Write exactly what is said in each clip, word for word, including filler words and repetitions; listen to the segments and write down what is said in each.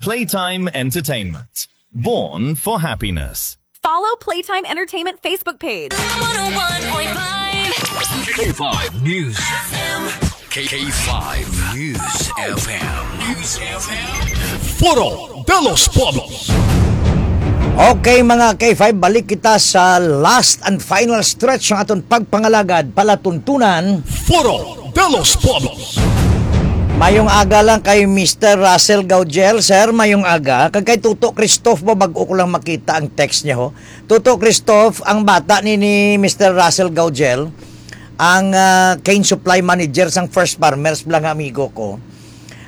Playtime Entertainment. Born for happiness. Follow Playtime Entertainment Facebook page. one oh one point five K five News F M. K five News F M. News F M. Foro de los Pueblos. Okay, mga K five, balik kita sa last and final stretch ng aton pagpangalagad, palatuntunan. Foro de los Pueblos. Mayong aga lang kay Mister Russell Gaugel, sir, mayong aga. Kag kay Tuto Christoph mo, bag-o ko lang makita ang text niya, ho. Tuto Christoph, ang bata ni, ni Mister Russell Gaugel, ang, ah, cane supply manager sang First Farmers, bala nga amigo ko.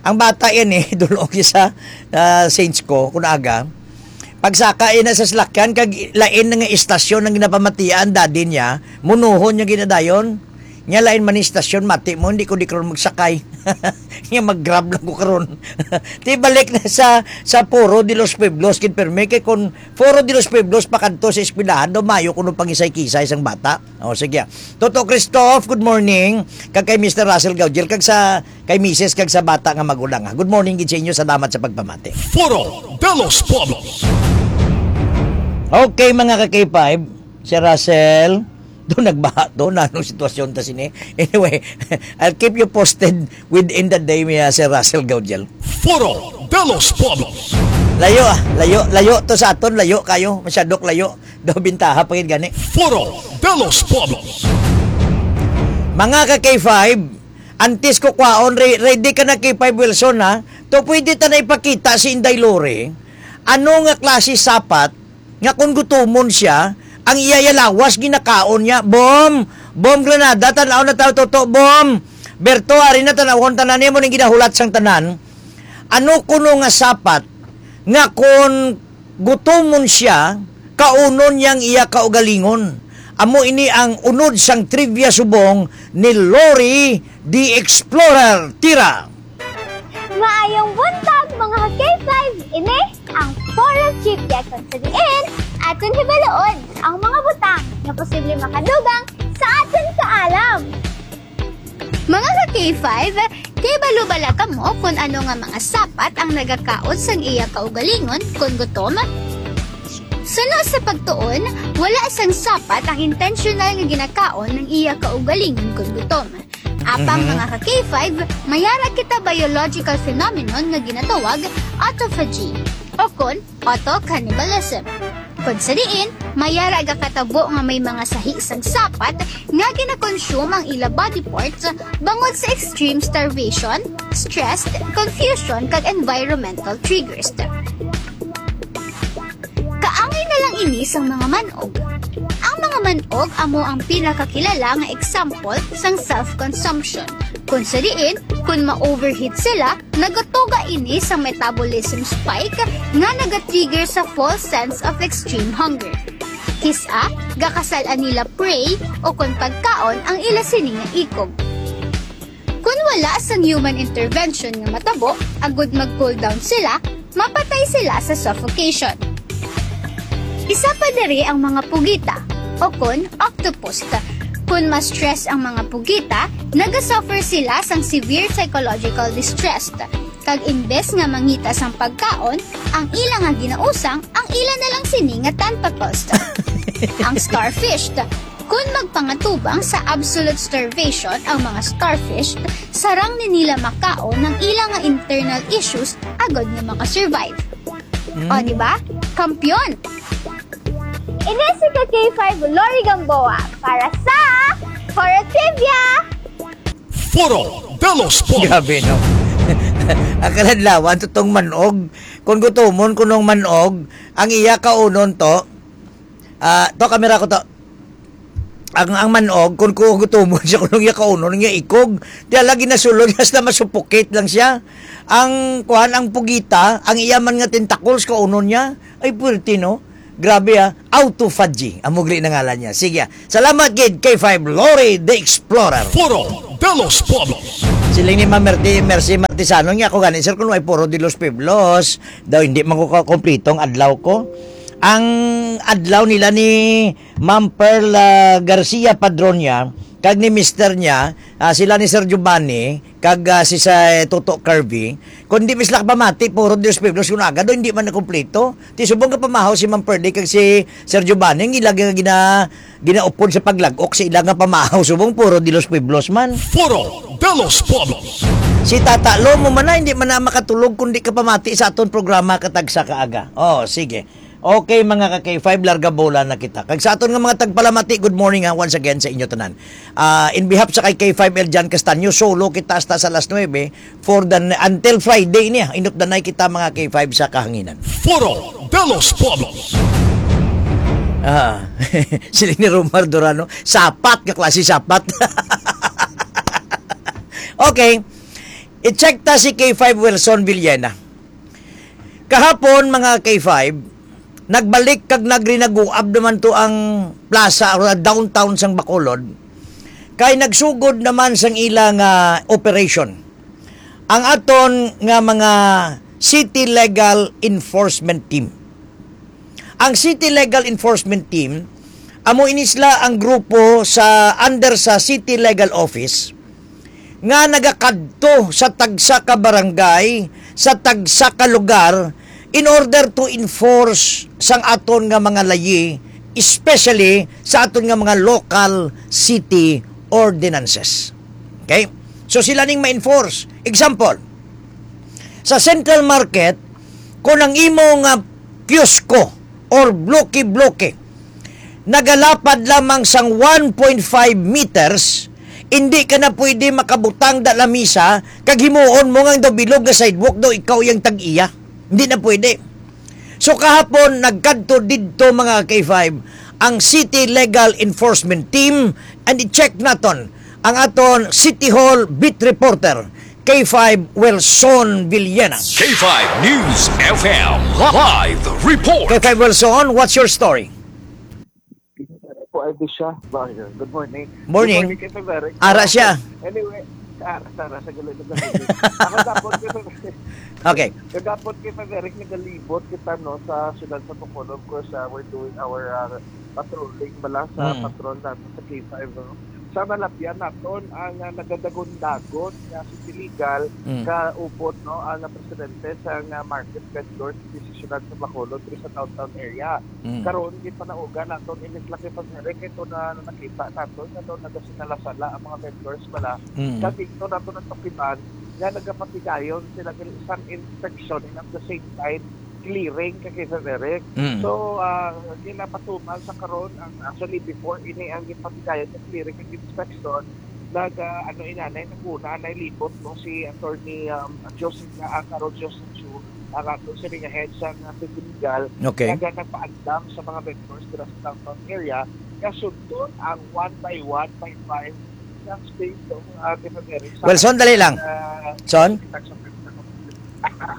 Ang bata yan, eh, dulong sa, ah, Saints ko, kun aga. Pagsaka yan na sa salakyan, kag lain na nga istasyon ang ginapamatian, daddy niya, munuhon niya ginadayon. Nya lain man istasyon, mati mo, hindi ko di karon magsakay. Nya mag-Grab lang ko karon. Ti balik na sa, sa Foro de los Pueblos, gid permi, kay kun Foro de los Pueblos pa kadto sa eskwelahan, daw mayo kuno pangisay-kisay sang bata. O, sige. Toto Christoph, good morning. Kag kay Mister Russell Gaugel, kag sa, kay Misis, kag sa bata nga magulang, ha. Good morning gid sa inyo. Salamat sa pagpamati. Foro de los Pueblos. Okay, mga ka-K five, Sir Russell, do nagbaha to, na anong sitwasyon ta sini? Anyway, I'll keep you posted within the day, mi, ah, Sir Russell Gaugel. Foro de los Pueblos. Layo, ah, layo, layo to sa aton, layo kayo, masyadok layo. Daw bintaha pa gid gani. Foro de los Pueblos. Mga ka-K five, antes ko kwaon, re-, ready ka na, K five Wilson, ha? To pwede ta na ipakita si Inday Lori. Ano nga klase sapat nga kung gutumon siya, ang iya, iya lawas ginakaon niya? Bom! Bom Granada, tan-aw na tayo, Toto. Bom! Berto, ari na, tan-awon tanan nimo ning ginahulat sang tanan. Ano kuno nga sapat nga kon gutomon siya, kaunon niya ang iya kaugalingon? Amo ini ang unod sang trivia subong ni Lori the Explorer. Tira! Maayong buntag, mga ka-K five. Ini ang Foro Trivia, kung sa diin aton hibaluon ang mga butang nga posible makadugang sa aton kaalam. Mga ka-K five, kay balo bala kamo kung ano nga mga sapat ang nagakaon sang iya kaugalingon kon gutom? Suno sa pagtuon, wala sang sapat ang intentional nga ginakaon ng iya kaugalingon kon gutom. Apang, mhm, mga ka-K five, may ara kita biological phenomenon nga ginatawag autophagy o kon auto-cannibalism. Kon sa diin, may ara gakatabo nga may mga sahi sang sapat nga ginakonsume ang ila body parts bangod sa extreme starvation, stress, confusion, kag environmental triggers. Kaangay na lang ini sang mga man-og. Ang mga man-og amo ang pinakakilala nga example sang self-consumption. Kon sa diin, kon ma-overheat sila, nagatuga ini sa metabolism spike nga nagatrigger sa false sense of extreme hunger. Kis-a, gakasal-an nila prey o kon pagkaon ang ila sini nga ikog. Kon wala sang human intervention nga matabo, agud mag-cool down sila, mapatay sila sa suffocation. Isa pa diri ang mga pugita, o kon octopus. Kon ma-stress ang mga pugita, nagasuffer sila sang severe psychological distress. Kag imbes nga mangita sang pagkaon, ang ila nga ginausang, ang ila na lang sini nga tentacles. Ang starfish. Kon magpangatubang sa absolute starvation ang mga starfish, sarang ni nila makaon ang ila nga internal issues agod nga makasurvive. Mm. O, di ba? Kampiyon! Ini si ka-K five Lori Gamboa para sa Foro Trivia! Foro de los Pueblos. Grabe, no? Ang kaladlawan, tutong manog. Kung gutumon, kunong manog, ang iya kaunon to, ah, to, kamera ko to. Ang, ang manog, kung gutumon siya, kunong iya kaunon, ang iya ikog, di ala ginasulod, hasta masupukit lang siya. Ang, kuan, ang pugita, ang iya man nga tentacles, kaunon niya. Ay, puwerte, no? Grabe, ah. Autophagy, ang mugli na ngalan niya. Sige, ah. Salamat gid kay five Lori the Explorer. Foro de los Pueblos. Siling ni Ma'am Merti-, Mercy Martisano niya, "Ako gani, sir, kung may Foro de los Pueblos, daw hindi man ko kakumpleto ang adlaw ko." Ang adlaw nila ni Ma'am Pearl, ah, Garcia Padronia kag ni mister niya, ah, sila ni Sir Giovanni kag, ah, si sa Toto Kirby, kung di mi sila kapamati, puro Dios Pueblos, kung aga do, hindi man na kompleto. Ti subong nga pamahaw si Ma'am Pearl kag si Sir Giovanni, ang ila nga gina-, ginaupod sa paglag-ok sa ila nga pamahaw, subong puro Dios Pueblos man. Foro de los Pueblos. Si Tata Lomo man na, hindi man na makatulog kung di ka pamati sa aton programa katagsa ka aga. Oh, sige. Okay, mga ka K five, larga bola na kita. Kag sa aton nga mga tagpalamati, good morning, ha, once again sa inyo tanan. Ah, in behalf sa kay K five L Jan Castaño, solo kita hasta sa alas nuebe for the, until Friday niya. Inot danay kita, mga K five, sa kahanginan. Foro de los Pueblos. Ah, sila ni Romar Durano, sapat nga klase, sapat. Okay. I-check ta si K five Wilson Villena. Kahapon, mga K five, nagbalik kag nagrinaguab naman to ang plaza or downtown sang Bacolod, kay nagsugod naman sang ila nga operation ang aton nga mga City Legal Enforcement Team. Ang City Legal Enforcement Team, amo ini sila ang grupo sa under sa City Legal Office nga nagakadto sa tagsa ka barangay, sa tagsa ka lugar, in order to enforce sang aton nga mga layi, especially sa aton nga mga local city ordinances. Okay? So sila ning ma-enforce. Example, sa Central Market, kung ang imo nga kiosko or bloke-bloke nagalapad lamang sang one point five meters, hindi ka na pwede makabutang da lamisa kag himuon mo nga daw bilog nga sidewalk daw ikaw yang tag-iya. Hindi na pwede. So kahapon, nagkadto didto, mga K five, ang City Legal Enforcement Team, and i-check naton ang aton City Hall beat reporter, K five Wilson Villena. K five News F M live report. K five Wilson, what's your story? Po, ay, di siya. Ba, yun. Good morning. Morning. Good morning, Kay Frederick. Ara siya. Anyway, ara, ara, sa galing na galing. Ako dapat, Kay Frederick. Okay. Kagapon, Kay Frederick, nagalibot kita, no, sa siyudad sa Bacolod. Of course, uh, we're doing our, uh, patrolling bala sa Mm. patrol natin sa K five, no? Sa nalapyan naton ang, uh, nagadagon-dagon nga city legal Mm. kaupod, no, ang, uh, presidente sa, uh, market vendor sa siyudad sa Bacolod, diri sa downtown area. Mm. Karon, gipanauga naton inis lang, Kay Frederick, ito na nakita naton nga daw nagasinala-sala ang mga vendors bala. Mm. Kag dito naton natukitan nga nagapatigayon sila diri sang inspection and at the same time clearing, Kay Frederick. Mm. So, ah, ginapatuman sa karon ang, actually, before ini ang gipatigayon sa clearing and inspection, nag, ah, ano, inanay, naguna, anay libot, no, si Attorney, um, Joseph, ah, Carol Joseph Chu, ang ato sini nga head sa, ah, City Legal, Okay. nga nagpaandam sa mga vendors dira sa downtown area, nga sundon ang one by one by five nga space, no, ah, Kay Frederick, sa, Wilson, dali lang. ah, Son?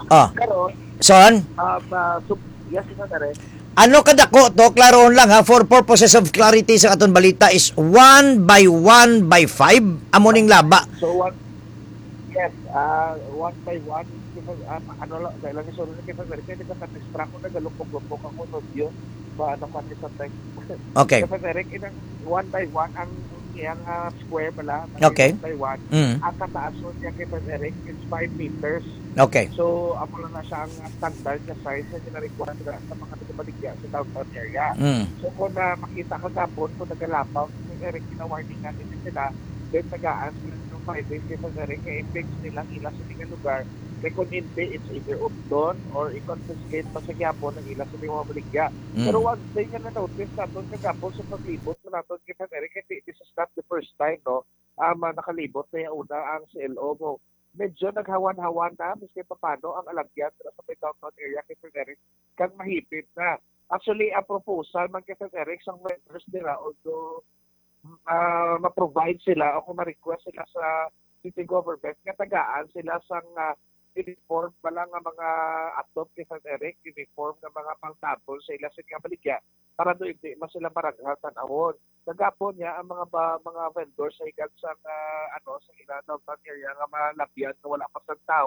Oh. Karon, Son? um, ah, sub-, yes, Kay Frederick. Ano kadako to? Klarohon lang, ha, for purposes of clarity sa aton balita is one by one by five. Amo ning laba. So, one, yes, ah, one by one, ah, ano lang, dahil lang isunod na, Kay Frederick, kaya nagkakadistra ko, nagalukog-lukog ako, no, yun. Ba, ano ka ni sa time? Okay. Kay Frederick, inang one by one ang iyang, ah, square bala, Okay. one by one. Mm. Ang kataason niya, Kay Frederick, is five meters. Okay. So, amo lang na siya ang standard nga size nga gina-require sa mga nagabaligya sa downtown area. Mm. So, kung, ah, makita kagapon, kung nagalapaw, Kay Frederick, gina-warning natin din sila, then tagaan sila ng five days, Kay Frederick, kay i-fix nilang ila sa mga lugar. Kay kung hindi, it's either updon or i-confiscate pa sa gyapon ang ila sa mga baligya. Mm. Pero one thing nga na-notice naton kagapon sa paglibot na naton, Kay Frederick, hindi, this is not the first time, no? Um, ah, nakalibot na yung una ang C L O mo. Medyo naghawan-hawan na, maski papano, ang alagyan sa may downtown area, Kay Frederick, kag mahipit na. Actually, ang proposal man, Kay Frederick, sang vendors nila, although, ah, ma-provide sila o kung ma-request sila sa city government nga tagaan sila sang, ah, uniform bala nga mga atop, Kay Frederick, uniform nga mga pangtabon sa ila sa mga baligya para do hindi man sila maraghan tan-awon. Kagapon niya ang mga ba, mga vendors sa higad sa, ah, ano, sa ila downtown area nga malabyan nga wala pa sang tawo.